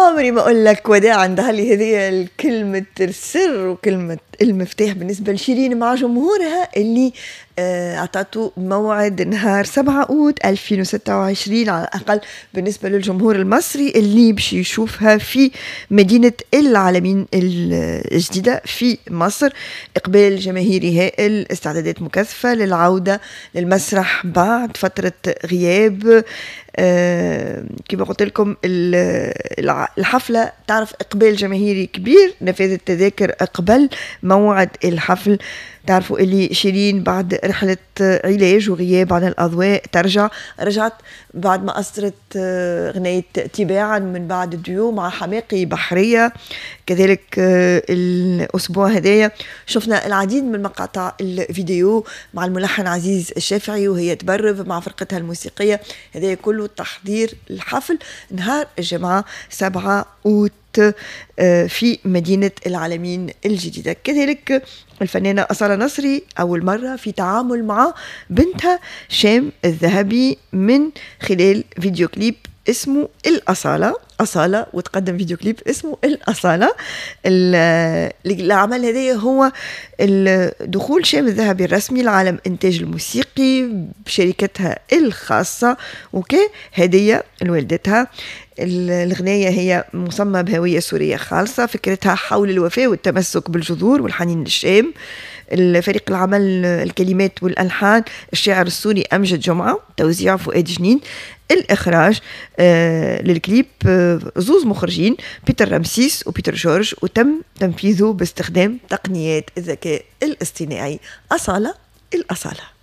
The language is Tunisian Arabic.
عمري ما اقول لك وداع. عندها لي هذه الكلمة السر وكلمة المفتاح بالنسبة لشيرين مع جمهورها اللي اعطته موعد نهار 7 اوت 2026 على الاقل بالنسبة للجمهور المصري اللي باش يشوفها في مدينة العالمين الجديدة في مصر. اقبال جماهيري هائل، استعدادات مكثفة للعودة للمسرح بعد فترة غياب. كما قلت لكم الحفلة تعرف إقبال جماهيري كبير، نفاذ التذاكر قبل موعد الحفل. تعرفوا اللي شيرين بعد رحلة علاج وغياب عن الأضواء رجعت بعد ما أصدرت غناية تباعا من بعد الديو مع حماقي بحرية. كذلك الأسبوع هذايا شفنا العديد من مقاطع الفيديو مع الملحن عزيز الشافعي وهي تبرف مع فرقتها الموسيقية. هذا كله تحضير الحفل نهار الجمعة 7 أوت في مدينة العالمين الجديدة. كذلك الفنانة أصالة نصري أول مرة في تعامل مع بنتها شام الذهبي من خلال فيديو كليب اسمه الأصالة. أصالة وتقدم فيديو كليب اسمه الأصالة. العمل هذا هو دخول شام الذهبي الرسمي لعالم إنتاج الموسيقي بشركتها الخاصة وكهدية لوالدتها. الغناية هي مصممة بهوية سورية خالصة، فكرتها حول الوفاء والتمسك بالجذور والحنين للشام. الفريق العمل الكلمات والألحان الشاعر السوري أمجد جمعة، توزيع فؤاد جنين، الإخراج للكليب زوز مخرجين بيتر رمسيس وبيتر جورج، وتم تنفيذه باستخدام تقنيات الذكاء الاصطناعي. أصالة الأصالة.